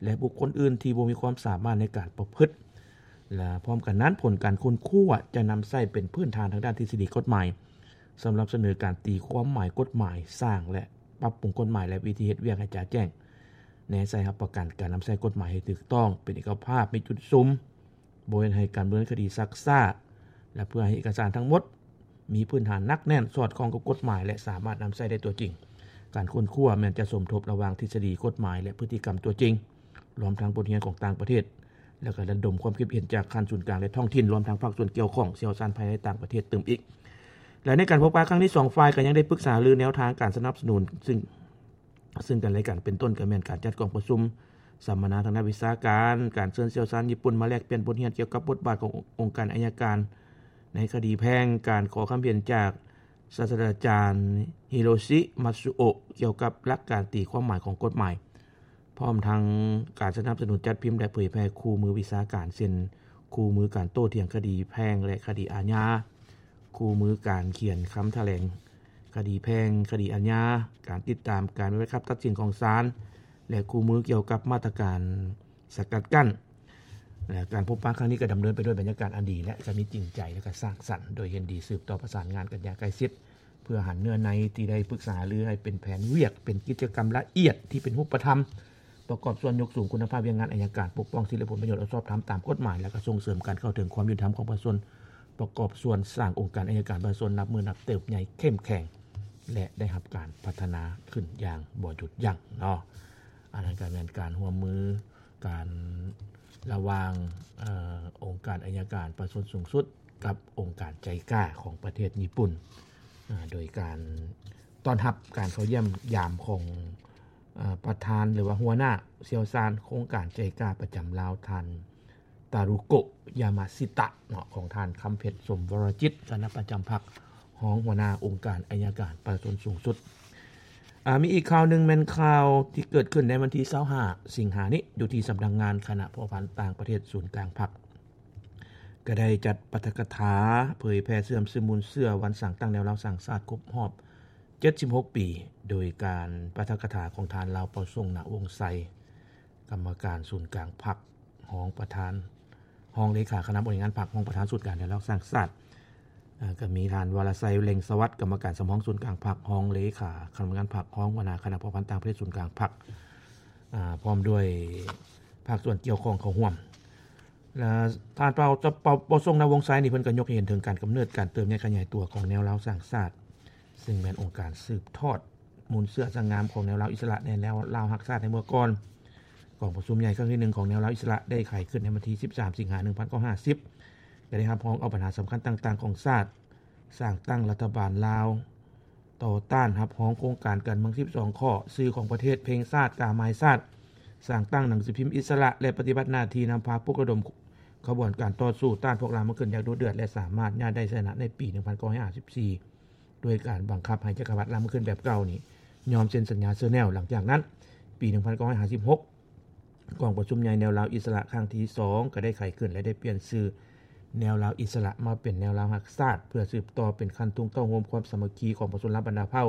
ແລະ ບຸກຄົນອື່ນທີ່ບໍ່ມີຄວາມສາມາດໃນການປະພຶດ. ແລະ ພ້ອມກັນນັ້ນ, ຜົນການຄົ້ນຄວ້າຈະນຳໃຊ້ເປັນພື້ນຖານທາງດ້ານທິດສະດີກົດໝາຍ ສຳລັບສະເໜີການຕີຄວາມໝາຍກົດໝາຍ, ສ້າງ ແລະ ປັບປຸງກົດໝາຍ ແລະ ວິທີເຮັດວຽກໃຫ້ຈະແຈ້ງ, ແນໃສ່ຮັບປະກັນການນຳໃຊ້ກົດໝາຍໃຫ້ຖືກຕ້ອງ, ເປັນເອກະພາບ, ມີຈຸດສຸມ, ບໍ່ເຮັດໃຫ້ການດຳເນີນຄະດີຊັກຊ້າ ແລະ ເພື່ອໃຫ້ເອກະສານທັງໝົດມີພື້ນຖານໜັກແໜ້ນ, ສອດຄ່ອງກັບກົດໝາຍ ແລະ ສາມາດນຳໃຊ້ໄດ້ຕົວຈິງ. ການຄົ້ນຄວ້າແມ່ນຈະສົມທົບລະຫວ່າງທິດສະດີກົດໝາຍ ແລະ ພຶດຕິກຳຕົວຈິງ, ລວມທັງບົດຮຽນຂອງຕ່າງປະເທດ, ແລ້ວກໍລະດົມຄວາມຄິດເຫັນຈາກຂັ້ນສູນກາງ ແລະ ທ້ອງຖິ່ນ, ລວມທັງພາກສ່ວນກ່ຽວຂ້ອງ, ຊ່ຽວຊານພາຍໃນ ແລະ ຕ່າງປະເທດຕື່ມອີກ. ແລະ ໃນການພົບປະຄັ້ງນີ້, ສອງຝ່າຍກໍຍັງໄດ້ປຶກສາຫາລືແນວທາງການສະໜັບສະໜູນ ຊຶ່ງ ຊຶ່ງກັນ ແລະ ກັນ, ເປັນຕົ້ນກໍແມ່ນການຈັດກອງປະຊຸມສຳມະນາທາງດ້ານວິຊາການ, ການເຊີນຊ່ຽວຊານຍີ່ປຸ່ນມາແລກປ່ຽນບົດຮຽນກ່ຽວກັບບົດບາດຂອງອົງການໄອຍະການໃນຄະດີແພ່ງ, ການຂໍຄຳເຫັນຈາກສາດສະດາຈານ Hiroshi Matsuo ກ່ຽວກັບຫຼັກການຕີຄວາມໝາຍຂອງກົດໝາຍ, ພ້ອມທັງການສະໜັບສະໜູນຈັດພິມ ແລະ ເຜີຍແຜ່ຄູ່ມືວິຊາການ ເຊັ່ນ ຄູ່ມືການໂຕ້ຖຽງຄະດີແພ່ງ ແລະ ຄະດີອາຍາ, ຄູ່ມືການຂຽນຄຳຖະແຫຼງຄະດີແພ່ງ, ຄະດີອາຍາ, ການຕິດຕາມການປະຕິບັດຄຳຕັດສິນຂອງສານ ແລະ ຄູ່ມືກ່ຽວກັບມາດຕະການສະກັດກັ້ນ. ແລະ ການພົບປະຄັ້ງນີ້ກໍດຳເນີນໄປດ້ວຍບັນຍາກາດອັນດີ ແລະ ກໍມີຈິງໃຈ ແລະ ກໍສ້າງສັນ, ໂດຍເຫັນດີສືບຕໍ່ປະສານງານກັນຢ່າງໃກ້ຊິດ ເພື່ອຫັນເນື້ອໃນທີ່ໄດ້ປຶກສາຫາລືໃຫ້ເປັນແຜນວຽກ, ເປັນກິດຈະກຳລະອຽດທີ່ເປັນຮູບປະທຳ, ປະກອບສ່ວນຍົກສູງຄຸນນະພາບວຽກງານໄອຍະການ, ປົກປ້ອງສິດ ແລະ ຜົນປະໂຫຍດອັນຊອບທຳຕາມກົດໝາຍ ແລະ ກໍສົ່ງເສີມການເຂົ້າເຖິງຄວາມຍຸຕິທຳຂອງປະຊາຊົນ, ປະກອບສ່ວນສ້າງອົງການໄອຍະການປະຊາຊົນນັບມື້ນັບເຕີບໃຫຍ່ເຂັ້ມແຂງ ແລະ ໄດ້ຮັບການພັດທະນາຂຶ້ນຢ່າງບໍ່ຢຸດຢັ້ງເນາະ. ອັນນັ້ນກໍແມ່ນການຮ່ວມມື ການລະຫວ່າງ ເອີ ອົງການໄອຍະການປະຊາຊົນສູງສຸດກັບອົງການໄຈກາຂອງປະເທດຍີ່ປຸ່ນ ເອີ ໂດຍການຕ້ອນຮັບການເຂົ້າຢ້ຽມຢາມຂອງ ເອີ ປະທານ ຫຼືວ່າຫົວໜ້າຊ່ຽວຊານໂຄງການໄຈກາປະຈຳລາວ ທ່ານ ຕາຣູໂກະ ຢາມາຊິຕະ ເນາະ ຂອງທ່ານ ຄຳເພັດ ສົມວໍລະຈິດ ຄະນະປະຈຳພັກ ຮອງຫົວໜ້າອົງການໄອຍະການປະຊາຊົນສູງສຸດ. ອາ ມີອີກຂ່າວໜຶ່ງແມ່ນຂ່າວທີ່ເກີດຂຶ້ນໃນວັນທີຊາວຫ້າ ສິງຫານີ້ ຢູ່ທີ່ສຳນັກງານຄະນະພົວພັນຕ່າງປະເທດສູນກາງພັກ ກໍໄດ້ຈັດປາຖະກະຖາເຜີຍແຜ່ເຊື່ອມຊຶມມູນເຊື້ອວັນສ້າງຕັ້ງແນວລາວສ້າງຊາດຄົບຮອບເຈັດສິບຫົກປີ ໂດຍການປາຖະກະຖາຂອງທ່ານ ລາວເປົ່າສົງ ນະວົງໄຊ ກຳມະການສູນກາງພັກ ຮອງປະທານ ຮອງເລຂາຄະນະບໍລິຫານພັກ ຮອງປະທານສູນກາງແນວລາວສ້າງຊາດ, ເອີ ກໍມີທ່ານ ວາລະໄຊ ເລັ່ງສະຫວັດ ກຳມະການສຳຮອງສູນກາງພັກ ຮອງເລຂາຄະນະບໍລິຫານພັກ ຮອງຫົວໜ້າຄະນະພົວພັນຕ່າງປະເທດສູນກາງພັກ ອາ ພ້ອມດ້ວຍພາກສ່ວນກ່ຽວຂ້ອງເຂົ້າຮ່ວມ. ແລະ ທ່ານ ເປົ່າ ເປົ່າ ເປົ່າສົງ ນະວົງໄຊ ນີ້ ເພິ່ນກໍຍົກໃຫ້ເຫັນເຖິງການກຳເນີດ ການເຕີບໃຫຍ່ຂະຫຍາຍຕົວຂອງແນວລາວສ້າງຊາດ, ຊຶ່ງແມ່ນອົງການສືບທອດມູນເຊື້ອສະຫງ່າມຂອງແນວລາວອິດສະຫຼະ ແນວລາວຮັກຊາດໃນເມື່ອກ່ອນ. ກອງປະຊຸມໃຫຍ່ຄັ້ງທີໜຶ່ງຂອງແນວລາວອິດສະຫຼະໄດ້ໄຂຂຶ້ນໃນວັນທີສິບສາມ ສິງຫາ ໜຶ່ງພັນເກົ້າຮ້ອຍຫ້າສິບ ແລະ ໄດ້ຮັບຮອງເອົາບັນຫາສຳຄັນຕ່າງໆຂອງຊາດ, ສ້າງຕັ້ງລັດຖະບານລາວ, ຕໍ່ຕ້ານຮັບຮອງໂຄງການການເມືອງສິບສອງຂໍ້, ຊື່ຂອງປະເທດ, ເພງຊາດ, ກາໝາຍຊາດ, ສ້າງຕັ້ງໜັງສືພິມອິດສະຫຼະ ແລະ ປະຕິບັດໜ້າທີ່ນຳພາປຸກລະດົມຂະບວນການຕໍ່ສູ້ຕ້ານພວກລ່າເມືອງຂຶ້ນຢ່າງດຸເດືອດ ແລະ ສາມາດຍາດໄດ້ໄຊຊະນະໃນປີໜຶ່ງພັນເກົ້າຮ້ອຍຫ້າສິບສີ່ ດ້ວຍການບັງຄັບໃຫ້ຈັກກະພັດລ່າເມືອງຂຶ້ນແບບເກົ່ານີ້ຍອມເຊັນສັນຍາເຊີແນວ. ຫຼັງຈາກນັ້ນ, ປີໜຶ່ງພັນເກົ້າຮ້ອຍຫ້າສິບຫົກ ກອງປະຊຸມໃຫຍ່ແນວລາວອິດສະຫຼະຄັ້ງທີສອງ ກໍໄດ້ໄຂຂຶ້ນ ແລະ ໄດ້ປ່ຽນຊື່ແນວລາວອິດສະຫຼະມາເປັນແນວລາວຮັກຊາດ ເພື່ອສືບຕໍ່ເປັນຄັນທຸງເຕົ້າໂຮມຄວາມສາມັກຄີຂອງປະຊາຊົນລາວບັນດາເຜົ່າ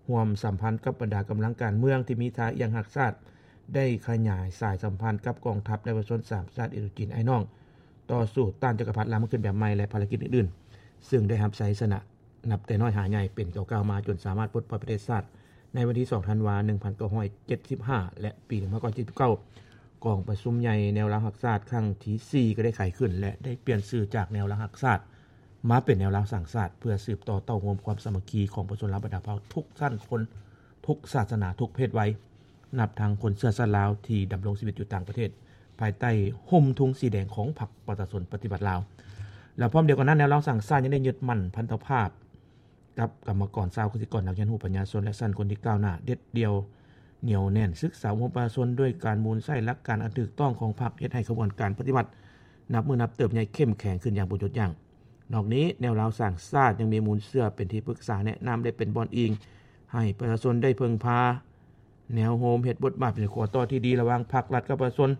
ຮ່ວມສຳພັນກັບບັນດາກຳລັງການເມືອງທີ່ມີທ່າອ່ຽງຮັກຊາດ, ໄດ້ຂະຫຍາຍສາຍສຳພັນກັບກອງທັບ ແລະ ປະຊາຊົນສາມຊາດ ອິນໂດຈີນອ້າຍນ້ອງ, ຕໍ່ສູ້ຕ້ານຈັກກະພັດລ່າເມືອງຂຶ້ນແບບໃໝ່ ແລະ ພາລະກິດອື່ນໆ, ຊຶ່ງໄດ້ຮັບໄຊຊະນະ ນັບແຕ່ນ້ອຍຫາໃຫຍ່ເປັນກ້າວໆມາ ຈົນສາມາດປົດປ່ອຍປະເທດຊາດໃນວັນທີສອງ ທັນວາ ໜຶ່ງພັນເກົ້າຮ້ອຍເຈັດສິບຫ້າ ແລະ ປີໜຶ່ງພັນເກົ້າຮ້ອຍເຈັດສິບເກົ້າ ກອງປະຊຸມໃຫຍ່ແນວລາວຮັກຊາດຄັ້ງທີສີ່ ກໍໄດ້ໄຂຂຶ້ນ ແລະ ໄດ້ປ່ຽນຊື່ຈາກແນວລາວຮັກຊາດມາເປັນແນວລາວສ້າງຊາດ ເພື່ອສືບຕໍ່ເຕົ້າໂຮມຄວາມສາມັກຄີຂອງປະຊາຊົນລາວບັນດາເຜົ່າທຸກຊັ້ນຄົນ, ທຸກສາສະໜາ, ທຸກເພດໄວ. ນັບທັງຄົນເຊື້ອຊາດລາວທີ່ດຳລົງຊີວິດຢູ່ຕ່າງປະເທດ ພາຍໃຕ້ຮົ່ມທຸງສີແດງຂອງພັກປະຊາຊົນປະຕິວັດລາວ ແລະ ພ້ອມດຽວກັນນັ້ນ ແນວລາວສ້າງຊາດຍັງໄດ້ຍຶດໝັ້ນພັນທະພາບກັບກຳມະກອນຊາວ ກະສິກອນ, ນັກຮຽນຮູ້, ປັນຍາຊົນ ແລະ ຊັ້ນຄົນທີ່ກ້າວໜ້າ ເດັດດ່ຽວໜຽວແໜ້ນ, ສຶກສາອົບຮົມປະຊາຊົນດ້ວຍການໝູນໃຊ້ຫຼັກການອັນຖືກຕ້ອງຂອງພັກ ເຮັດໃຫ້ຂະບວນການປະຕິວັດນັບມື້ນັບເຕີບໃຫຍ່ເຂັ້ມແຂງຂຶ້ນຢ່າງບໍ່ຢຸດຢັ້ງ. ນອກນີ້, ແນວລາວສ້າງຊາດຍັງມີມູນເຊື້ອເປັນທີ່ປຶກສາແນະນຳ ແລະ ເປັນບ່ອນອີງໃຫ້ປະຊາຊົນໄດ້ເພິ່ງພາ. ແນວໂຮມເຮັດບົດບາດເປັນຂົວຕໍ່ທີ່ດີລະຫວ່າງພັກລັດກັບປະຊາຊົນ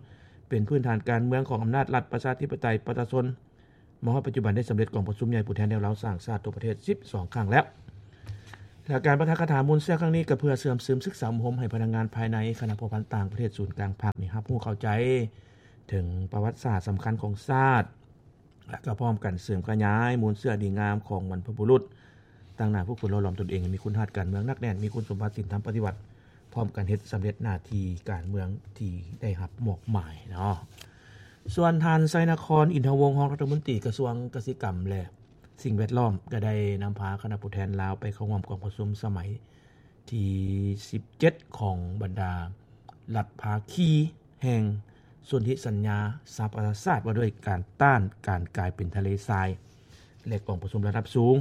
ເປັນພື້ນຖານການເມືອງຂອງອຳນາດລັດປະຊາທິປະໄຕປະຊາຊົນ ມາຮອດປັດຈຸບັນໄດ້ສຳເລັດກອງປະຊຸມໃຫຍ່ຜູ້ແທນແນວລາວສ້າງຊາດທົ່ວປະເທດສິບສອງຄັ້ງແລ້ວ. ແລະ ການປາຖະກະຖາມູນເຊື້ອຄັ້ງນີ້ ກໍເພື່ອເຊື່ອມຊຶມສຶກສາອົບຮົມໃຫ້ພະນັກງານພາຍໃນ ຄະນະພົວພັນຕ່າງປະເທດ ສູນກາງພັກນີ້ ຮັບຮູ້ເຂົ້າໃຈເຖິງປະຫວັດສາດສຳຄັນຂອງຊາດ ແລະ ກໍພ້ອມກັນເສີມຂະຫຍາຍມູນເຊື້ອດີງາມຂອງບັນພະບຸລຸດ, ຕັ້ງໜ້າຝຶກຝົນຫຼໍ່ຫຼອມຕົນເອງໃຫ້ມີຄຸນຮັດການເມືອງໜັກແໜ້ນ, ມີຄຸນສົມບັດສິນທຳປະຕິວັດ, ພ້ອມກັນເຮັດສຳເລັດໜ້າທີ່ການເມືອງທີ່ໄດ້ຮັບມອບໝາຍເນາະ. ສ່ວນທ່ານ ໄຊນະຄອນ ອິນທະວົງ ຮອງລັດຖະມົນຕີກະຊວງກະສິກຳ ແລະ ສິ່ງແວດລ້ອມ ກໍໄດ້ນຳພາຄະນະຜູ້ແທນລາວໄປເຂົ້າຮ່ວມກອງປະຊຸມສະໄໝທີສິບເຈັດ ຂອງບັນດາລັດພາຄີແຫ່ງສົນທິສັນຍາສະຫະປະຊາຊາດ ວ່າດ້ວຍການຕ້ານການກາຍເປັນທະເລຊາຍ ແລະ ກອງປະຊຸມລະດັບສູງ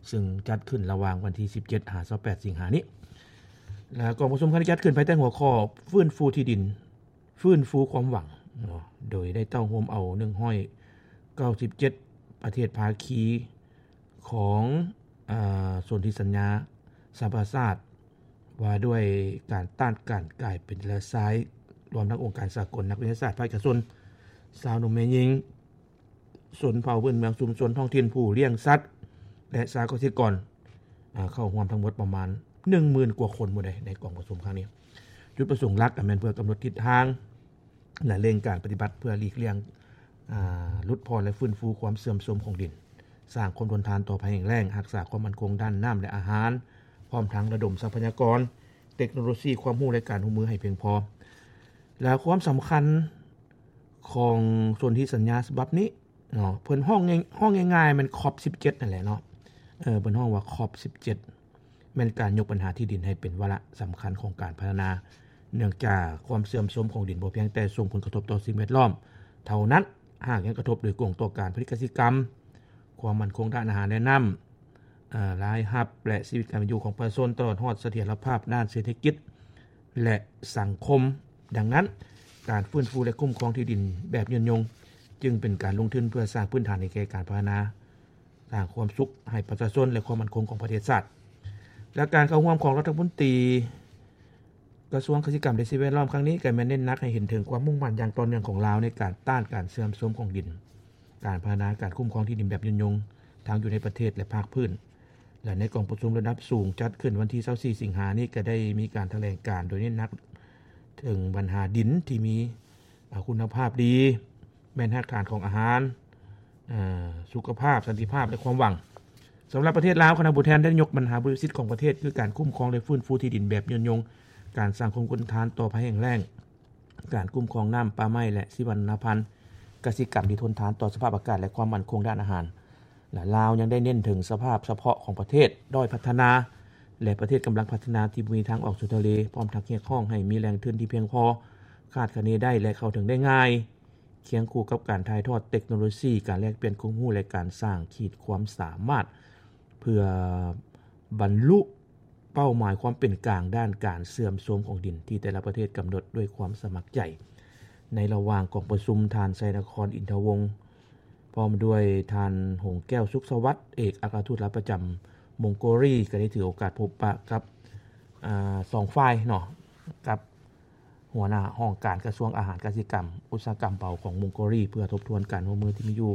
ຊຶ່ງຈັດຂຶ້ນລະຫວ່າງວັນທີສິບເຈັດ ຫາ ຊາວແປດ ສິງຫານີ້. ແລະ ກອງປະຊຸມຄັ້ງນີ້ຈັດຂຶ້ນພາຍໃຕ້ຫົວຂໍ້ ຟື້ນຟູທີ່ດິນ ຟື້ນຟູຄວາມຫວັງເນາະ ໂດຍໄດ້ເຕົ້າໂຮມເອົາໜຶ່ງຮ້ອຍເກົ້າສິບເຈັດປະເທດພາຄີຂອງ ອາ ສົນທິສັນຍາສະຫະປະຊາຊາດ ວ່າດ້ວຍການຕ້ານການກາຍເປັນທະເລຊາຍ ລວມທັງອົງການສາກົນ, ນັກວິທະຍາສາດ, ພາກເອກະຊົນ, ຊາວໜຸ່ມແມ່ຍິງ, ຊົນເຜົ່າພື້ນເມືອງ, ຊຸມຊົນທ້ອງຖິ່ນ, ຜູ້ລ້ຽງສັດ ແລະ ຊາວກະສິກອນ ອາ ເຂົ້າຮ່ວມທັງໝົດປະມານໜຶ່ງໝື່ນກວ່າຄົນພຸ້ນໃດ໋ ໃນກອງປະຊຸມຄັ້ງນີ້. ຈຸດປະສົງຫຼັກກໍແມ່ນເພື່ອກຳນົດທິດທາງ ແລະ ເລັ່ງການປະຕິບັດເພື່ອຫຼີກລ່ຽງ ອາ ຫຼຸດຜ່ອນ ແລະ ຟື້ນຟູຄວາມເສື່ອມໂຊມຂອງດິນ, ສ້າງຄວາມທົນທານຕໍ່ໄພແຫ້ງແລ້ງ, ຮັກສາຄວາມໝັ້ນຄົງດ້ານນ້ຳ ແລະ ອາຫານ, ພ້ອມທັງລະດົມຊັບພະຍາກອນ, ເຕັກໂນໂລຊີ, ຄວາມຮູ້ ແລະ ການຮ່ວມມືໃຫ້ພຽງພໍ. ແລະ ຄວາມສຳຄັນຂອງສົນທິສັນຍາສະບັບນີ້ ເນາະ ເພິ່ນຮ້ອງງ່າຍ ຮ້ອງງ່າຍໆ ແມ່ນ ຄອບສິບເຈັດ ນັ້ນແຫຼະເນາະ. ເອີ ເພິ່ນຮ້ອງວ່າ ຄອບສິບເຈັດ ແມ່ນການຍົກບັນຫາທີ່ດິນໃຫ້ເປັນວາລະສຳຄັນຂອງການພັດທະນາ, ເນື່ອງຈາກຄວາມເສື່ອມໂຊມຂອງດິນບໍ່ພຽງແຕ່ສົ່ງຜົນກະທົບຕໍ່ສິ່ງແວດລ້ອມເທົ່ານັ້ນ, ຫາກຍັງກະທົບໂດຍກົງຕໍ່ການຜະລິດກະສິກຳ, ຄວາມໝັ້ນຄົງດ້ານອາຫານ ແລະ ນ້ຳ, ເອີ ລາຍຮັບ ແລະ ຊີວິດການເປັນຢູ່ຂອງປະຊາຊົນ, ຕະຫຼອດຮອດສະຖຽນລະພາບດ້ານເສດຖະກິດ ແລະ ສັງຄົມ. ດັ່ງນັ້ນ, ການຟື້ນຟູ ແລະ ຄຸ້ມຄອງທີ່ດິນແບບຍືນຍົງ ຈຶ່ງເປັນການລົງທຶນເພື່ອສ້າງພື້ນຖານໃຫ້ແກ່ການພັດທະນາ, ສ້າງຄວາມສຸກໃຫ້ປະຊາຊົນ ແລະ ຄວາມໝັ້ນຄົງຂອງປະເທດຊາດ. ແລະ ການເຂົ້າຮ່ວມຂອງລັດຖະມົນຕີກະຊວງກະສິກຳ ແລະ ສິ່ງແວດລ້ອມຄັ້ງນີ້ ກໍແມ່ນເນັ້ນໜັກໃຫ້ເຫັນເຖິງຄວາມມຸ່ງໝັ້ນຢ່າງຕໍ່ເນື່ອງຂອງລາວ ໃນການຕ້ານການເສື່ອມໂຊມຂອງດິນ, ການພັດທະນາ, ການຄຸ້ມຄອງທີ່ດິນແບບຍືນຍົງ ທັງຢູ່ໃນປະເທດ ແລະ ພາກພື້ນ. ແລະ ໃນກອງປະຊຸມລະດັບສູງຈັດຂຶ້ນວັນທີຊາວສີ່ ສິງຫານີ້ ກໍໄດ້ມີການຖະແຫຼງການໂດຍເນັ້ນໜັກເຖິງບັນຫາດິນທີ່ມີ ອາ ຄຸນນະພາບດີ, ແມ່ນຮາກຖານຂອງອາຫານ, ອາ ສຸຂະພາບ, ສັນຕິພາບ ແລະ ຄວາມຫວັງ. ສຳລັບປະເທດລາວ, ຄະນະຜູ້ແທນໄດ້ຍົກບັນຫາບໍ່ລິສິດຂອງປະເທດ ຄືການຄຸ້ມຄອງ ແລະ ຟື້ນຟູທີ່ດິນແບບຍືນຍົງ, ການສ້າງຄວາມທົນທານຕໍ່ໄພແຫ້ງແລ້ງ, ການຄຸ້ມຄອງນ້ຳ, ປ່າໄມ້ ແລະ ຊີວະນານາພັນ, ກະສິກຳທີ່ທົນທານຕໍ່ສະພາບອາກາດ ແລະ ຄວາມໝັ້ນຄົງດ້ານອາຫານ. ລະລາວຍັງໄດ້ເນັ້ນເຖິງສະພາບສະເພາະຂອງປະເທດດ້ອຍພັດທະນາ ແລະ ປະເທດກຳລັງພັດທະນາທີ່ບໍ່ມີທາງອອກສູ່ທະເລ, ພ້ອມທັງຮຽກຮ້ອງໃຫ້ມີແຫຼ່ງທຶນທີ່ພຽງພໍ, ຄາດຄະເນໄດ້ ແລະ ເຂົ້າເຖິງໄດ້ງ່າຍ, ຄຽງຄູ່ກັບການຖ່າຍທອດເຕັກໂນໂລຊີ, ການແລກປ່ຽນຄວາມຮູ້ ແລະ ການສ້າງຂີດຄວາມສາມາດ ເພື່ອບັນລຸເປົ້າໝາຍຄວາມເປັນກາງດ້ານການເສື່ອມໂຊມຂອງດິນ ທີ່ແຕ່ລະປະເທດກຳນົດດ້ວຍຄວາມສະໝັກໃຈ. ໃນລະຫວ່າງກອງປະຊຸມ, ທ່ານ ໄຊນະຄອນ ອິນທະວົງ ພ້ອມດ້ວຍທ່ານ ຫົງແກ້ວ ສຸກສະຫວັດ ເອກອັກຄະທູດລາວປະຈຳມົງໂກລີ ກໍໄດ້ຖືໂອກາດພົບປະກັບ ອາ ສອງຝ່າຍເນາະ ກັບຫົວໜ້າຫ້ອງການກະຊວງອາຫານກະສິກຳອຸດສາຫະກຳເບົາຂອງມົງໂກລີ ເພື່ອທົບທວນການຮ່ວມມືທີ່ມີຢູ່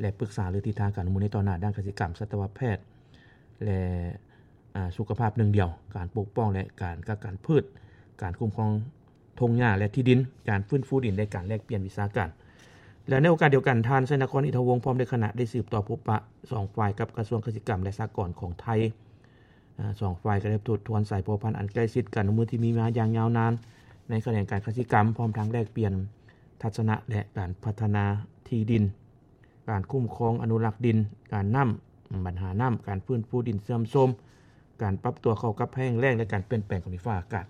ແລະ ປຶກສາເລື່ອງທິດທາງການຮ່ວມມືໃນຕໍ່ໜ້າດ້ານກະສິກຳ, ສັດຕະວະແພດ ແລະ ອາ ສຸຂະພາບໜຶ່ງດຽວ, ການປົກປ້ອງ ແລະ ການກັກກັນພືດ, ການຄຸ້ມຄອງ ທົ່ງຫຍ້າ ແລະ ທີ່ດິນ, ການຟື້ນຟູດິນ ແລະ ການແລກປ່ຽນວິຊາການ. ແລະ ໃນໂອກາດດຽວກັນ, ທ່ານ ໄຊນະຄອນ ອິນທະວົງ ພ້ອມດ້ວຍຄະນະ ໄດ້ສືບຕໍ່ພົບປະສອງຝ່າຍກັບກະຊວງກະສິກຳ ແລະ ສະຫະກອນຂອງໄທ. ອາ ສອງຝ່າຍກໍໄດ້ທົບທວນສາຍພົວພັນອັນໃກ້ຊິດ, ການຮ່ວມມືທີ່ມີມາຢ່າງຍາວນານໃນຂະແໜງການກະສິກຳ, ພ້ອມທັງແລກປ່ຽນທັດສະນະ ແລະ ການພັດທະນາທີ່ດິນ, ການຄຸ້ມຄອງອະນຸລັກດິນ, ການນ້ຳ, ບັນຫານ້ຳ, ການຟື້ນຟູດິນເສື່ອມໂຊມ, ການປັບຕົວເຂົ້າກັບແຫ້ງແລ້ງ ແລະ ການປ່ຽນແປງຂອງດິນຟ້າອາກາດ,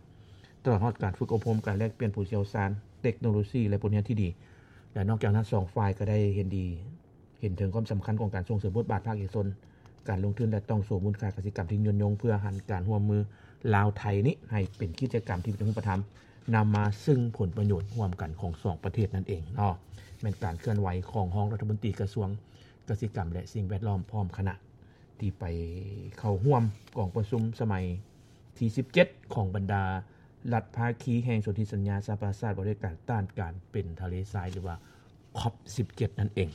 ຕະຫຼອດຮອດການຝຶກອົບຮົມ, ການແລກປ່ຽນຜູ້ຊ່ຽວຊານ, ເຕັກໂນໂລຊີ ແລະ ບົດຮຽນທີ່ດີ. ແລະ ນອກຈາກນັ້ນ, ສອງຝ່າຍກໍໄດ້ເຫັນດີ ເຫັນເຖິງຄວາມສຳຄັນຂອງການສົ່ງເສີມບົດບາດພາກເອກະຊົນ, ການລົງທຶນ ແລະ ຕ່ອງໂສມູນຄ່າກະສິກຳທີ່ຍືນຍົງ ເພື່ອຫັນການຮ່ວມມືລາວ-ໄທນີ້ໃຫ້ເປັນກິດຈະກຳທີ່ເປັນຮູບປະທຳ, ນຳມາຊຶ່ງຜົນປະໂຫຍດຮ່ວມກັນຂອງສອງປະເທດນັ້ນເອງເນາະ. ແມ່ນການເຄື່ອນໄຫວຂອງຮອງລັດຖະມົນຕີກະຊວງກະສິກຳ ແລະ ສິ່ງແວດລ້ອມ ພ້ອມຄະນະ ທີ່ໄປເຂົ້າຮ່ວມກອງປະຊຸມສະໄໝທີສິບເຈັດ ຂອງບັນດາລັດພາຄີແຫ່ງສົນທິສັນຍາສະຫະປະຊາຊາດ ວ່າດ້ວຍການຕ້ານການເປັນທະເລຊາຍ ຫຼືວ່າ ຄອບສິບເຈັດ ນັ້ນເອງ.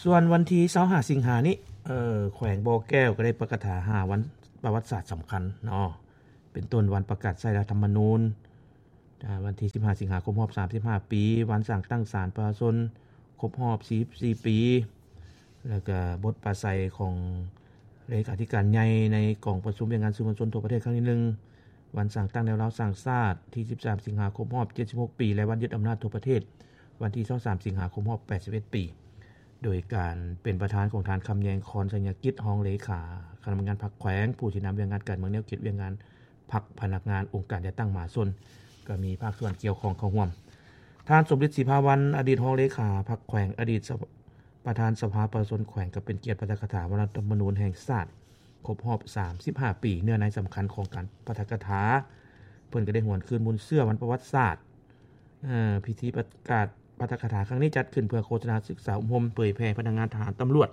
ສ່ວນວັນທີຊາວຫ້າ ສິງຫານີ້, ເອີ ແຂວງບໍ່ແກ້ວກໍໄດ້ປະກາດຫາວັນປະຫວັດສາດສຳຄັນເນາະ ເປັນຕົ້ນວັນປະກາດໃຊ້ລັດຖະມະນູນ ອາ ວັນທີສິບຫ້າສິງຫາຄົບຮອບສາມສິບຫ້າປີ, ວັນສ້າງຕັ້ງສານປະຊາຊົນຄົບຮອບສີ່ສິບສີ່ປີ ແລ້ວກະບົດປາໄສຂອງເລຂາທິການໃຫຍ່ໃນກອງປະຊຸມວຽກງານສື່ມວນຊົນທົ່ວປະເທດຄັ້ງທີໜຶ່ງ ວັນສ້າງຕັ້ງແນວລາວສ້າງຊາດທີສິບສາມສິງຫາຄົບຮອບເຈັດສິບຫົກປີ ແລະ ວັນຍຶດອຳນາດທົ່ວປະເທດ ວັນທີຊາວສາມສິງຫາຄົບຮອບແປດສິບເອັດປີ ໂດຍການເປັນປະທານຂອງທ່ານ ຄຳແຍງ ຄອນໄຊຍະກິດ ຮອງເລຂາຄະນະກຳມະການພັກແຂວງ, ຜູ້ຊີ້ນຳວຽກງານການເມືອງ, ແນວຄິດວຽກງານພັກ, ພະນັກງານ, ອົງການຈັດຕັ້ງມະຫາຊົນ ກໍມີພາກສ່ວນກ່ຽວຂ້ອງເຂົ້າຮ່ວມ. ທ່ານ ສົມລິດ ສີພາວັນ ອະດີດຮອງເລຂາພັກແຂວງ, ອະດີດສະ ປະທານສະພາປະຊາຊົນແຂວງ ກໍເປັນກຽດປາຖະກະຖາວັນລັດຖະມະນູນແຫ່ງຊາດຄົບຮອບສາມສິບຫ້າປີ. ເນື້ອໃນສຳຄັນຂອງການປາຖະກະຖາ ເພິ່ນກໍໄດ້ຫວນຄືນມູນເຊື້ອວັນປະຫວັດສາດ. ເອີ ພິທີປະກາດປາຖະກະຖາຄັ້ງນີ້ຈັດຂຶ້ນເພື່ອໂຄສະນາສຶກສາອົບຮົມເຜີຍແຜ່ພະນັກງານທະຫານ, ຕຳຫຼວດ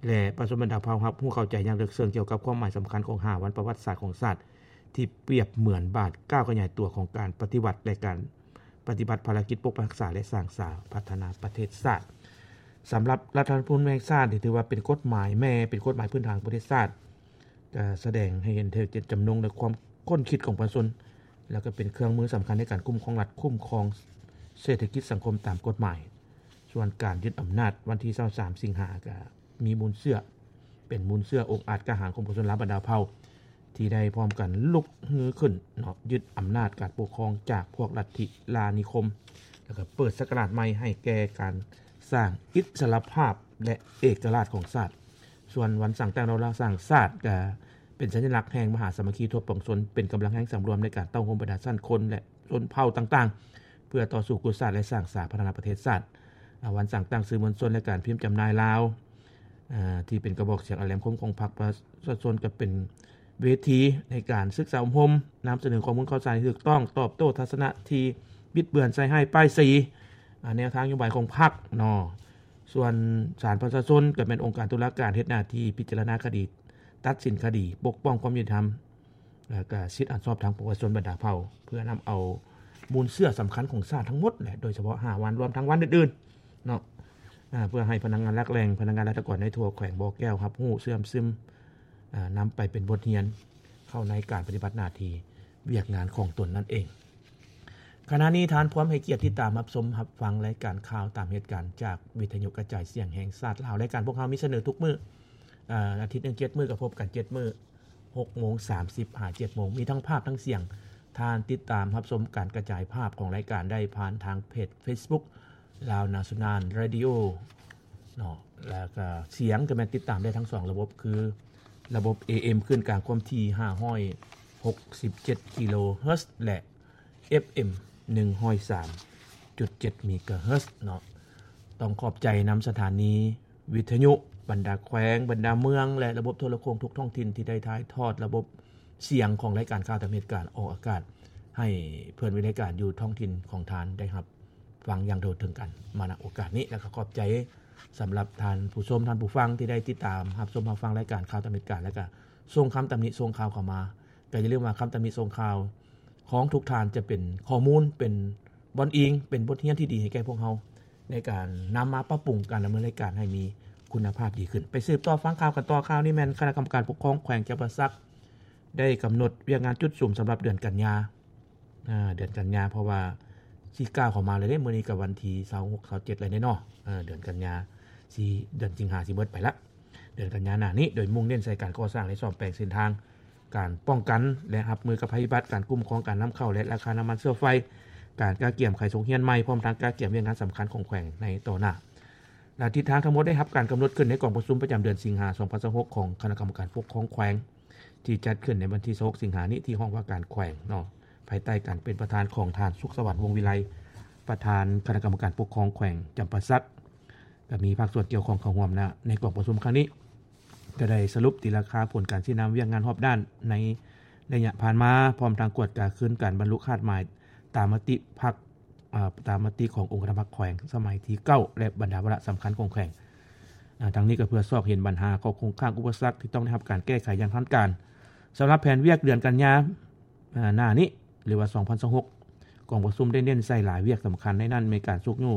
ແລະ ປະຊາຊົນບັນດາເຜົ່າຮັບຮູ້ເຂົ້າໃຈຢ່າງເລິກເຊິ່ງກ່ຽວກັບຄວາມໝາຍສຳຄັນຂອງຫ້າວັນປະຫວັດສາດຂອງຊາດ ທີ່ປຽບເໝືອນບາດກ້າວຂະຫຍາຍຕົວຂອງການປະຕິວັດ ແລະ ການປະຕິບັດພາລະກິດປົກປັກຮັກສາ ແລະ ສ້າງສາພັດທະນາປະເທດຊາດ. ສຳລັບລັດຖະທຳມະນູນແຫ່ງຊາດນີ້ ຖືວ່າເປັນກົດໝາຍແມ່, ເປັນກົດໝາຍພື້ນຖານຂອງປະເທດຊາດ, ກະສະແດງໃຫ້ເຫັນເຖິງເຈດຈຳນົງ ແລະ ຄວາມຄົ້ນຄິດຂອງປະຊາຊົນ ແລ້ວກໍເປັນເຄື່ອງມືສຳຄັນໃນການຄຸ້ມຄອງລັດ, ຄຸ້ມຄອງເສດຖະກິດສັງຄົມຕາມກົດໝາຍ. ສ່ວນການຍຶດອຳນາດວັນທີຊາວສາມສິງຫາ ກະມີມູນເຊື້ອ, ເປັນມູນເຊື້ອອົງອາດກ້າຫານຂອງປະຊາຊົນລາວບັນດາເຜົ່າ ທີ່ໄດ້ພ້ອມກັນລຸກຮືຂຶ້ນເນາະ, ຍຶດອຳນາດການປົກຄອງຈາກພວກລັດທິລ່ານິຄົມ ແລ້ວກໍເປີດສັກກະລາດໃໝ່ໃຫ້ແກ່ການສ້າງອິດສະຫຼະພາບ ແລະ ເອກະລາດຂອງຊາດ. ສ່ວນວັນສ້າງຕັ້ງແນວລາວສ້າງຊາດ ກໍເປັນສັນຍະລັກແຫ່ງມະຫາສາມັກຄີທົ່ວປວງຊົນ, ເປັນກຳລັງແຮງສຳລວມໃນການເຕົ້າໂຮມບັນດາຊັ້ນຄົນ ແລະ ຊົນເຜົ່າຕ່າງໆ ເພື່ອຕໍ່ສູ້ກູ້ຊາດ ແລະ ສ້າງສາພັດທະນາປະເທດຊາດ. ອາ ວັນສ້າງຕັ້ງສື່ມວນຊົນ ແລະ ການພິມຈຳໜ່າຍລາວ ອາ ທີ່ເປັນກະບອກສຽງອັນແຫຼມຄົມຂອງພັກປະຊາຊົນ ກໍເປັນເວທີໃນການສຶກສາອົບຮົມ, ນຳສະເໜີຂໍ້ມູນຂ່າວສານທີ່ຖືກຕ້ອງ, ຕອບໂຕ້ທັດສະນະທີ່ບິດເບືອນ, ໃສ່ຮ້າຍປ້າຍສີ ອາ ແນວທາງນະໂຍບາຍຂອງພັກເນາະ. ສ່ວນສານປະຊາຊົນກໍແມ່ນອົງການຕຸລາການເຮັດໜ້າທີ່ພິຈາລະນາຄະດີ, ຕັດສິນຄະດີ, ປົກປ້ອງຄວາມຍຸຕິທຳ ແລ້ວກະສິດອັນຊອບທຳຂອງປະຊາຊົນບັນດາເຜົ່າ ເພື່ອນຳເອົາມູນເຊື້ອສຳຄັນຂອງຊາດທັງໝົດແຫຼະ ໂດຍສະເພາະຫ້າວັນ ລວມທັງວັນອື່ນໆເນາະ ເພື່ອໃຫ້ພະນັກງານຫຼັກແຫຼ່ງ, ພະນັກງານລັດຖະກອນໃນທົ່ວແຂວງບໍ່ແກ້ວຮັບຮູ້, ເຊື່ອມຊຶມ, ນຳໄປເປັນບົດຮຽນເຂົ້າໃນການປະຕິບັດໜ້າທີ່ວຽກງານຂອງຕົນນັ້ນເອງ. ຂະນະນີ້ທ່ານພວມໃຫ້ກຽດຕິດຕາມຮັບຊົມຮັບຟັງລາຍການຂ່າວຕາມເຫດການຈາກວິທະຍຸກະຈາຍສຽງແຫ່ງຊາດລາວ. ລາຍການພວກເຮົາມີສະເໜີທຸກມື້, ອາ ອາທິດໜຶ່ງເຈັດມື້ ກໍພົບກັນເຈັດມື້ ຫົກໂມງສາມສິບຫາເຈັດໂມງ ມີທັງພາບທັງສຽງ. ທ່ານຕິດຕາມຮັບຊົມການກະຈາຍພາບຂອງລາຍການໄດ້ຜ່ານທາງເພຈເຟສບຸກ Lao National Radio ເນາະ ແລ້ວກະສຽງກໍແມ່ນຕິດຕາມໄດ້ທັງສອງລະບົບ ຄືລະບົບ ເອເອັມ ຄື້ນກາງຄວາມຖີ່ຫ້າຮ້ອຍຫົກສິບເຈັດກິໂລເຮີດ ແລະ ເອັຟເອັມ ໜຶ່ງຮ້ອຍສາມຈຸດເຈັດເມກາເຮີດເນາະ. ຕ້ອງຂອບໃຈນຳສະຖານີ ວິທະຍຸບັນດາແຂວງ, ບັນດາເມືອງ ແລະ ລະບົບໂທລະໂຄ່ງທຸກທ້ອງຖິ່ນທີ່ໄດ້ຖ່າຍທອດລະບົບສຽງຂອງລາຍການຂ່າວຕາມເຫດການອອກອາກາດ ໃຫ້ເພື່ອນວິທະຍາການຢູ່ທ້ອງຖິ່ນຂອງທ່ານໄດ້ຮັບຟັງຢ່າງທົ່ວເຖິງກັນມາ ນະ ໂອກາດນີ້. ແລ້ວກໍຂອບໃຈສຳລັບທ່ານຜູ້ຊົມ, ທ່ານຜູ້ຟັງທີ່ໄດ້ຕິດຕາມຮັບຊົມຮັບຟັງລາຍການຂ່າວຕາມເຫດການ ແລ້ວກໍສົ່ງຄຳຕຳໜິສົ່ງຂ່າວເຂົ້າມາ. ກໍຢ່າລືມວ່າຄຳຕຳໜິສົ່ງຂ່າວຂອງທຸກທ່ານຈະເປັນຂໍ້ມູນ, ເປັນບ່ອນອີງ, ເປັນບົດຮຽນທີ່ດີໃຫ້ແກ່ພວກເຮົາ ໃນການນຳມາປັບປຸງການດຳເນີນລາຍການໃຫ້ມີຄຸນນະພາບດີຂຶ້ນ. ໄປສືບຕໍ່ຟັງຂ່າວກັນຕໍ່. ຂ່າວນີ້ແມ່ນຄະນະກຳມະການປົກຄອງແຂວງຈຳປາສັກ ໄດ້ກຳນົດວຽກງານຈຸດສຸມສຳລັບເດືອນກັນຍາ, ອາ ເດືອນກັນຍາ ເພາະວ່າຊິກ້າວເຂົ້າມາແລ້ວເດ້. ມື້ນີ້ກໍວັນທີຊາວຫົກ ຊາວເຈັດແລ້ວເນາະ, ເດືອນກັນຍາ ຊິ ເດືອນສິງຫາຊິເບິດໄປລະ. ເດືອນກັນຍາໜ້ານີ້ ໂດຍມຸ່ງເນັ້ນໃສ່ການກໍ່ສ້າງ ແລະ ສ້ອມແປງເສັ້ນທາງ, ການປ້ອງກັນ ແລະ ຮັບມືກັບໄພພິບັດ, ການຄຸ້ມຄອງການນຳເຂົ້າ ແລະ ລາຄານ້ຳມັນເຊື້ອໄຟ, ການກະກຽມໄຂສົງຮຽນໃໝ່, ພ້ອມທັງກະກຽມວຽກງານສຳຄັນຂອງແຂວງໃນຕໍ່ໜ້າ. ແລະ ທິດທາງທັງໝົດໄດ້ຮັບການກຳນົດຂຶ້ນໃນກອງປະຊຸມປະຈຳເດືອນສິງຫາ ສອງພັນຊາວຫົກ ຂອງຄະນະກຳມະການປົກຄອງແຂວງ ທີ່ຈັດຂຶ້ນໃນວັນທີຊາວຫົກ ສິງຫານີ້ ທີ່ຫ້ອງວ່າການແຂວງເນາະ, ພາຍໃຕ້ການເປັນປະທານຂອງທ່ານ ສຸກສະຫວັນ ວົງວິໄລ ປະທານຄະນະກຳມະການປົກຄອງແຂວງຈຳປາສັກ. ກໍມີພາກສ່ວນກ່ຽວຂ້ອງເຂົ້າຮ່ວມນະ ໃນກອງປະຊຸມຄັ້ງນີ້ ກໍໄດ້ສະຫຼຸບຕີລາຄາຜົນການຊີ້ນຳວຽກງານຮອບດ້ານໃນໄລຍະຜ່ານມາ, ພ້ອມທັງກວດກາຄືນການບັນລຸຄາດໝາຍຕາມມະຕິພັກ, ອາ, ຕາມມະຕິຂອງອົງຄະນະກຳມະການພັກແຂວງສະໄໝທີເກົ້າ ແລະ ບັນດາວາລະສຳຄັນຂອງແຂວງ. ອາ, ທັງນີ້ກໍເພື່ອຊອກເຫັນບັນຫາ, ຂໍ້ຄົງຄ້າງ, ອຸປະສັກທີ່ຕ້ອງໄດ້ຮັບການແກ້ໄຂຢ່າງທັນການ. ສຳລັບແຜນວຽກເດືອນກັນຍາ, ອາ, ໜ້ານີ້ ຫຼືວ່າ ສອງພັນຊາວຫົກ ກອງປະຊຸມໄດ້ເນັ້ນໃສ່ຫຼາຍວຽກສຳຄັນ, ໃນນັ້ນມີການຊຸກຍູ້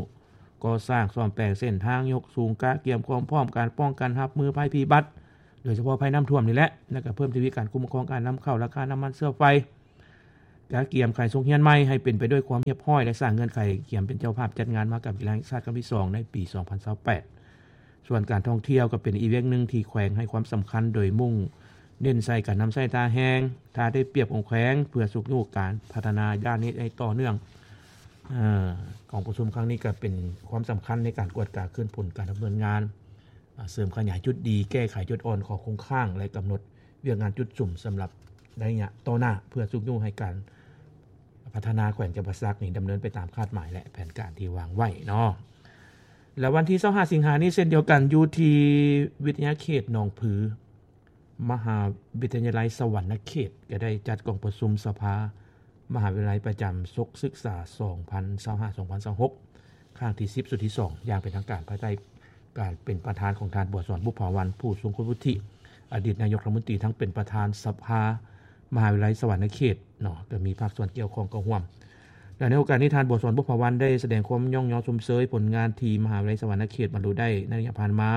ກໍ່ສ້າງສ້ອມແປງເສັ້ນທາງ, ຍົກສູງກະກຽມຄວາມພ້ອມການປ້ອງກັນຮັບມືໄພພິບັດ ໂດຍສະເພາະໄພນ້ຳຖ້ວມນີ້ແຫຼະ ແລະ ກະເພີ່ມທະວີການຄຸ້ມຄອງການນຳເຂົ້າ, ລາຄານ້ຳມັນເຊື້ອໄຟ, ກະກຽມຂາຍສົກຮຽນໃໝ່ໃຫ້ເປັນໄປດ້ວຍຄວາມຮຽບຮ້ອຍ ແລະ ສ້າງເງື່ອນໄຂກຽມເປັນເຈົ້າພາບຈັດງານມະຫະກຳກິລາແຫ່ງຊາດຄັ້ງທີສອງໃນປີສອງພັນຊາວແປດ. ສ່ວນການທ່ອງທ່ຽວກໍເປັນອີກວຽກໜຶ່ງທີ່ແຂວງໃຫ້ຄວາມສຳຄັນ ໂດຍມຸ່ງເນັ້ນໃສ່ການນຳໃຊ້ທ່າແຮງ, ທ່າໄດ້ປຽບຂອງແຂວງ ເພື່ອຊຸກຍູ້ການພັດທະນາດ້ານນີ້ໃຫ້ຕໍ່ເນື່ອງ. ເອີ ກອງປະຊຸມຄັ້ງນີ້ກໍເປັນຄວາມສຳຄັນໃນການກວດກາຄືນຜົນການດຳເນີນງານ, ເສີມຂະຫຍາຍຈຸດດີ, ແກ້ໄຂຈຸດອ່ອນ, ຂໍ້ຄົງຄ້າງ ແລະ ກຳນົດວຽກງານຈຸດສຸມສຳລັບໄລຍະຕໍ່ໜ້າ ເພື່ອຊຸກຍູ້ໃຫ້ການ ພັດທະນາແຂວງຈຳປາສັກນີ້ດຳເນີນໄປຕາມຄາດໝາຍ ແລະ ແຜນການທີ່ວາງໄວ້ເນາະ. ແລະ ວັນທີຊາວຫ້າສິງຫານີ້ເຊັ່ນດຽວກັນ ຢູ່ທີ່ວິທະຍາເຂດໜອງຜື ມະຫາວິທະຍາໄລສະຫວັນນະເຂດ ກໍໄດ້ຈັດກອງປະຊຸມສະພາມະຫາວິທະຍາໄລປະຈຳສົກສຶກສາສອງພັນຊາວຫ້າ ສອງພັນຊາວຫົກ ຄັ້ງທີສິບ ຊຸດທີສອງ ຢ່າງເປັນທາງການ ພາຍໃຕ້ການເປັນປະທານຂອງທ່ານ ບົວສອນ ບຸບຜາວັນ ຜູ້ຊົງຄຸນວຸດທິ ອະດີດນາຍົກລັດຖະມົນຕີ ທັງເປັນປະທານສະພາມະຫາວິທະຍາໄລສະຫວັນນະເຂດເນາະ ກໍມີພາກສ່ວນກ່ຽວຂ້ອງເຂົ້າຮ່ວມ. ແລະ ໃນໂອກາດນີ້ ທ່ານ ບົວສອນ ບຸບຜາວັນ ໄດ້ສະແດງຄວາມຍ້ອງຍໍຊົມເຊີຍຜົນງານທີ່ມະຫາວິທະຍາໄລສະຫວັນນະເຂດບັນລຸໄດ້ໃນໄລຍະຜ່ານມາ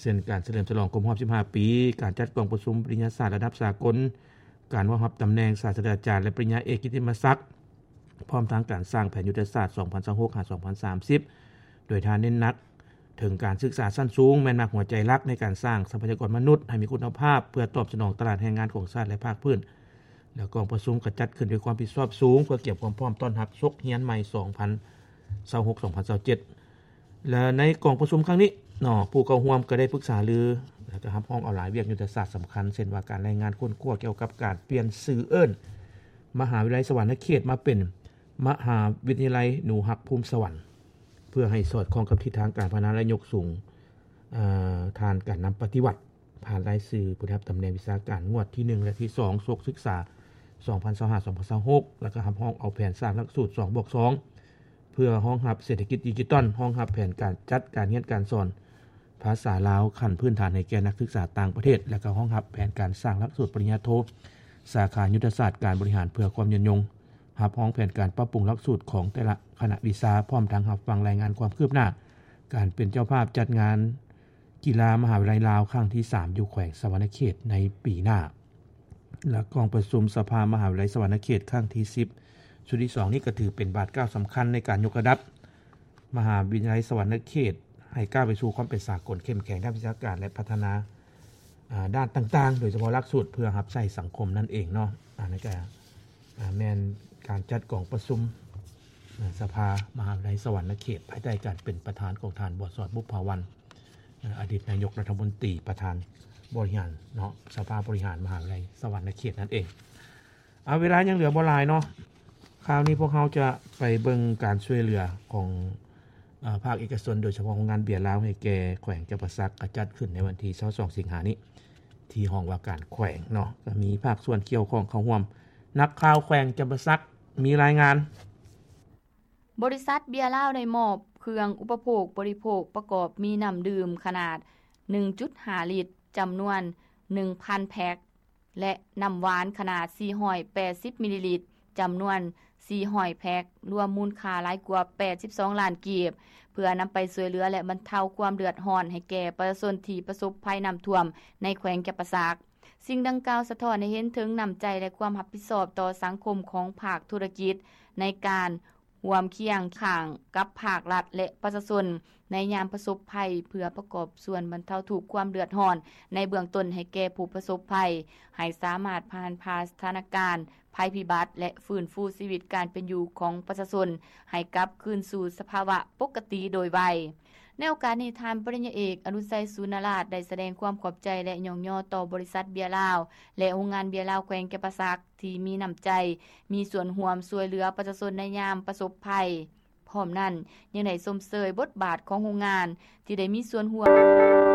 ເຊັ່ນ ການສະເຫຼີມສະຫຼອງຄົບຮອບສິບຫ້າປີ ການຈັດກອງປະຊຸມປະລິນຍາສາດລະດັບສາກົນ, ການເຂົ້າຮັບຕຳແໜ່ງສາດສະດາຈານ ແລະ ປະລິນຍາເອກກິດຕິມະສັກ, ພ້ອມທັງການສ້າງແຜນຍຸດທະສາດສອງພັນຊາວຫົກ ຫາ ສອງພັນສາມສິບ ໂດຍທ່ານເນັ້ນໜັກເຖິງການສຶກສາຊັ້ນສູງ ແມ່ນໝາກຫົວໃຈຫຼັກໃນການສ້າງຊັບພະຍາກອນມະນຸດໃຫ້ມີຄຸນນະພາບ ເພື່ອຕອບສະໜອງຕະຫຼາດແຮງງານຂອງຊາດ ແລະ ພາກພື້ນ. ແລະ ກອງປະຊຸມກໍຈັດຂຶ້ນດ້ວຍຄວາມຮັບຜິດຊອບສູງ ເພື່ອກຽມຄວາມພ້ອມຕ້ອນຮັບສົກຮຽນໃໝ່ສອງພັນຊາວຫົກ ສອງພັນຊາວເຈັດ ແລະ ໃນກອງປະຊຸມຄັ້ງນີ້ເນາະ ຜູ້ເຂົ້າຮ່ວມກໍໄດ້ປຶກສາລື ແລະ ກໍຮັບຮອງເອົາຫຼາຍວຽກຍຸດທະສາດສຳຄັນ ເຊັ່ນວ່າ ການລາຍງານຄົ້ນຄວ້າກ່ຽວກັບການປ່ຽນຊື່ເອີ້ນມະຫາວິທະຍາໄລສະຫວັນນະເຂດມາເປັນມະຫາວິທະຍາໄລໜູຮັກພູມສະຫວັນ ເພື່ອໃຫ້ສອດຄ່ອງກັບທິດທາງການພັດທະນາ ແລະ ຍົກສູງ ເອີ ຖານການນຳປະຕິວັດ ຜ່ານລາຍຊື່ຜູ້ໄດ້ຮັບຕຳແໜ່ງວິຊາການງວດທີໜຶ່ງ ແລະ ທີສອງ ສົກສຶກສາສອງພັນຊາວຫ້າ ສອງພັນຊາວຫົກ ແລ້ວກໍຮັບຮອງເອົາແຜນສ້າງຫຼັກສູດສອງບວກສອງ ເພື່ອຮອງຮັບເສດຖະກິດດິຈິຕອນ, ຮອງຮັບແຜນການຈັດການຮຽນການສອນພາສາລາວຂັ້ນພື້ນຖານໃຫ້ແກ່ນັກສຶກສາຕ່າງປະເທດ ແລະ ກໍຮອງຮັບແຜນການສ້າງຫຼັກສູດປະລິນຍາໂທ ສາຂາຍຸດທະສາດການບໍລິຫານເພື່ອຄວາມຍືນຍົງ, ຮັບຮອງແຜນການປັບປຸງຫຼັກສູດຂອງແຕ່ລະຄະນະວິຊາ, ພ້ອມທັງຮັບຟັງລາຍງານຄວາມຄືບໜ້າການເປັນເຈົ້າພາບຈັດງານ ກິລາມະຫາວິທະຍາໄລລາວຄັ້ງທີສາມ ຢູ່ແຂວງສະຫວັນນະເຂດໃນປີໜ້າ ແລະ ກອງປະຊຸມສະພາມະຫາວິທະຍາໄລສະຫວັນນະເຂດຄັ້ງທີສິບ ຊຸດທີສອງນີ້ ກໍຖືເປັນບາດກ້າວສຳຄັນໃນການຍົກລະດັບມະຫາວິທະຍາໄລສະຫວັນນະເຂດໃຫ້ກ້າວໄປສູ່ຄວາມເປັນສາກົນ, ເຂັ້ມແຂງດ້ານວິຊາການ ແລະ ພັດທະນາ ອາ ດ້ານຕ່າງໆ ໂດຍສະເພາະຫຼັກສູດເພື່ອຮັບໃຊ້ສັງຄົມນັ້ນເອງເນາະ. ອັນນີ້ກໍ ອາ ແມ່ນການຈັດກອງປະຊຸມ ອາ ສະພາມະຫາວິທະຍາໄລສະຫວັນນະເຂດ ພາຍໃຕ້ການເປັນປະທານຂອງທ່ານ ບົວສອນ ບຸບຜາວັນ ອາ ອະດີດນາຍົກລັດຖະມົນຕີ ປະທານບໍລິຫານເນາະ ສະພາບໍລິຫານມະຫາວິທະຍາໄລສະຫວັນນະເຂດນັ້ນເອງ. ເອົາ ເວລາຍັງເຫຼືອບໍ່ຫຼາຍເນາະ ຄາວນີ້ພວກເຮົາຈະໄປເບິ່ງການຊ່ວຍເຫຼືອຂອງ ເອີ ພາກເອກະຊົນ ໂດຍສະເພາະໂຮງງານເບຍລາວໃຫ້ແກ່ແຂວງຈຳປາສັກ ກໍຈັດຂຶ້ນໃນວັນທີຊາວສອງສິງຫານີ້ ທີ່ຫ້ອງວ່າການແຂວງເນາະ ກໍມີພາກສ່ວນກ່ຽວຂ້ອງເຂົ້າຮ່ວມ. ນັກຂ່າວແຂວງຈຳປາສັກມີລາຍງານ. ບໍລິສັດເບຍລາວໄດ້ມອບເຄື່ອງອຸປະໂພກບໍລິໂພກປະກອບມີນ້ຳດື່ມຂະໜາດໜຶ່ງຈຸດຫ້າລິດ ຈຳນວນໜຶ່ງພັນແພັກ ແລະ ນ້ຳຫວານຂະໜາດສີ່ຮ້ອຍແປດສິບມິນລີລິດ ຈຳນວນສີ່ຮ້ອຍແພັກ ລວມມູນຄ່າຫຼາຍກວ່າແປດສິບສອງລ້ານກີບ ເພື່ອນຳໄປຊ່ວຍເຫຼືອ ແລະ ບັນເທົາຄວາມເດືອດຮ້ອນໃຫ້ແກ່ປະຊາຊົນທີ່ປະສົບໄພນ້ຳຖ້ວມໃນແຂວງຈຳປາສັກ. ສິ່ງດັ່ງກ່າວສະທ້ອນໃຫ້ເຫັນເຖິງນ້ຳໃຈ ແລະ ຄວາມຮັບຜິດຊອບຕໍ່ສັງຄົມຂອງພາກທຸລະກິດ ໃນການຮ່ວມຄຽງຂ້າງກັບພາກລັດ ແລະ ປະຊາຊົນ ໃນຍາມປະສົບໄພ ເພື່ອປະກອບສ່ວນບັນເທົາທຸກຄວາມເດືອດຮ້ອນໃນເບື້ອງຕົ້ນໃຫ້ແກ່ຜູ້ປະສົບໄພ ໃຫ້ສາມາດຜ່ານຜ່າສະຖານະການໄພພິບັດ ແລະ ຟື້ນຟູຊີວິດການເປັນຢູ່ຂອງປະຊາຊົນໃຫ້ກັບຄືນສູ່ສະພາວະປົກກະຕິໂດຍໄວ. ໃນໂອກາດນີ້ ທ່ານປະລິນຍາເອກ ອະນຸໄຊ ສູນນະລາດ ໄດ້ສະແດງຄວາມຂອບໃຈ ແລະ ຍ້ອງຍໍຕໍ່ບໍລິສັດເບຍລາວ ແລະ ໂຮງງານເບຍລາວແຂວງຈຳປາສັກ ທີ່ມີນ້ຳໃຈ ມີສ່ວນຮ່ວມຊ່ວຍເຫຼືອປະຊາຊົນໃນຍາມປະສົບໄພ. ພ້ອມນັ້ນ ຍັງໄດ້ຊົມເຊີຍບົດບາດຂອງໂຮງງານທີ່ໄດ້ມີສ່ວນຮ່ວມ.